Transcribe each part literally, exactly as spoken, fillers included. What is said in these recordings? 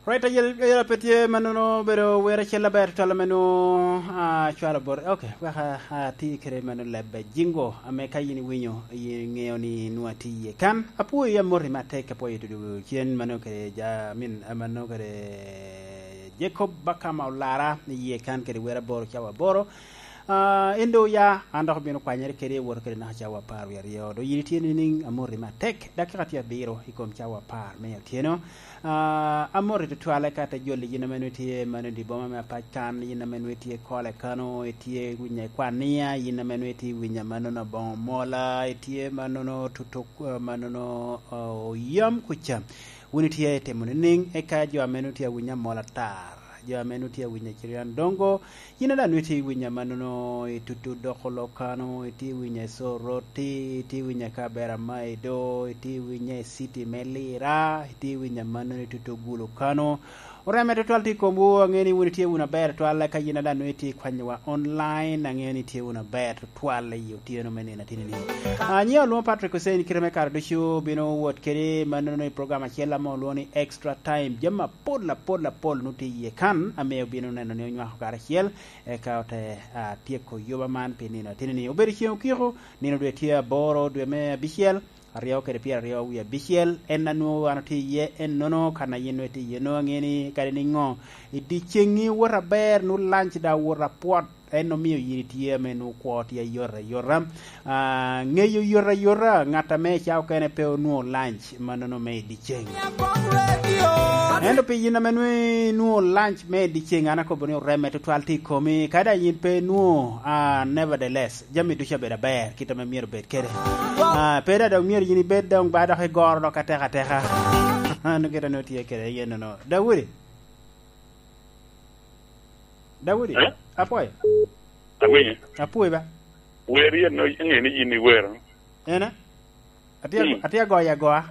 Right, ayel, ayel pe tye mannono obedo wer acel aber tutwal ame nwoŋo, ah, cwalo bot. Ok, wek a, ati kede mano lebbe jingo, ame ka yin iwinyo, yin iŋeo ni nwoŋo ati iye kan. Apwoyi, amoti matek, apwoyo tudu cen mano kede ja, I mean, ah, mano kede Jacob Bakama Olara, iye kan kede wer aboro cawa aboro. Ah, en doŋ oya, an dok obino kwanyere kede, woto kede naka cawa apar wie aryo. Doŋ yin itye nining? Amoti matek, dakika tye abiro i kom cawa apar me otyeno. Ah, amoti tutwal eka te joli yin ame nwoŋo itye mano i dye boma me Apac kan, yin ame nwoŋo itye Kole kano, itye winyo i Kwania, yin ame nwoŋo itye winyo manono Boŋo Mola, itye manono tutuk, ah, manono, ah, Oyam kuca. Wun itye itimo nining? Eka jo ame nwoŋo tye awinyo Amola Tar, jo ame nwoŋo tye awinyo Cirian Dongo, yin a daŋ nwoŋo itye iwinyo amannono i tutu doko lok kano, itye iwinyo i Soroti, itye iwinyo i Kabera ma Edo, itye iwinyo i city me Lira, itye iwinyo amannono i tutu Gulu kano. Oreme tutwal tye i komwu, aŋeo ni wun itye wunu aber tutwal, eka yin a daŋ nwoŋo itye ikwanyowa online, aŋeo ni itye wunu aber tutwal i otyeno me nino atini-ni. Ah, nyiŋa olwoŋo Patrick Hussein, kite me kare ducu obino wot kede mannono i program acel ame olwoŋo ni Extra Time. Jami apol, apol, apol nwoŋo tye iye kan, ame obino neno ni onywako karacel, eka ote, ah, tyeko yuba man pi nino atini-ni. Obedo ceŋ okiko, nino dwe tye aboro, dwe me abicel, aryo kede pyeraryo wie abicel, en a nwoŋo an otye iye ennono, kan a yin nwoŋo itye iye nwoŋo aŋeo ni kadi niŋo, i dyeceŋŋi wot aber, nwoŋo lanc daŋ wot apwot, en omio yin itye ame nwoŋo kwo tye ayot ayota. Ah, ŋeyo yot ayota, ŋat ame i ca okene pe onwoŋo lanc mannono me i dyeceŋ. Ento pi yin ame nwoŋo inwoŋo lanc me i dyeceŋ, an akobo ni oreme tutwal tye i komi, ka daŋ yin pe inwoŋo, ah, nevertheless, jami ducu abedo aber, kit ame myero obed kede. Ah, pe daŋ dok myero yin ibed doŋ ba dok igoro dok ateka ateka. An kit ame otye kede yen nono. Daudi? Daudi? Eh? Apwoyo. Awinyo. Apwoyo ba? Wer yen no, ŋe ni yin iwero. Ena? Atye, hmm, atye agoyo agoa.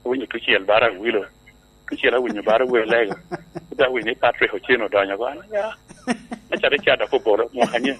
Awinyo tucel bara Awilo. Tucel awinyo bara Welego. Kuda awinyo ni Patrick Ochen odonyo oko. An, ya. Acalo ica dok obolo, mwaka nye.